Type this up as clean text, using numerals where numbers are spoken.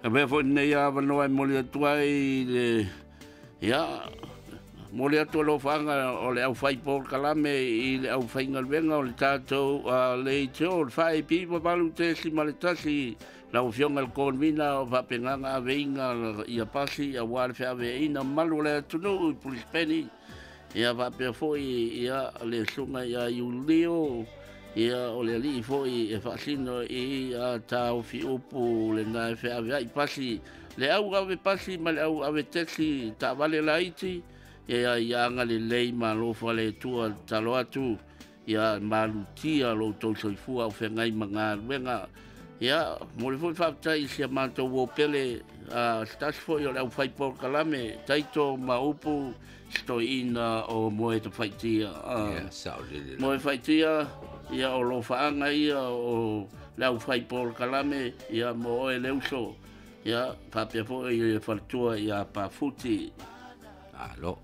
Avea foi lenei avanoa e momoli atu ai le, ia, momoli atu alofaaga o le aufai polokalame i le aufaigaluega o le tatou leitio, le 4AP 8.1, lau Afioga i le Convener o faapena aveina ia pasi aua le feaveaiina mamalu o le atunuu i Pulisepeni, ia faapea foi ia le susuga ia Iulio, ia o le alii foi e faasino i taofi upu lena e feaveai pasi, le au ave pasi ma le au ave taxi taavale laiti, ia ia agalelei ma alofa le Atua. Tatalo atu ia malutia lo outou soifua au feagai ma galuega. Ia momoli foi faafetai i si a matou uo pele, se tasi foi o le aufai polokalame taito ma upu se toeaina o Moetafaitia. Ia, saolele. Moefaitia, ia o lofaaga ia o le aufai polokalame, ia mo oe le uso, ia faapea foi le faletua ia Pafuti. Malo.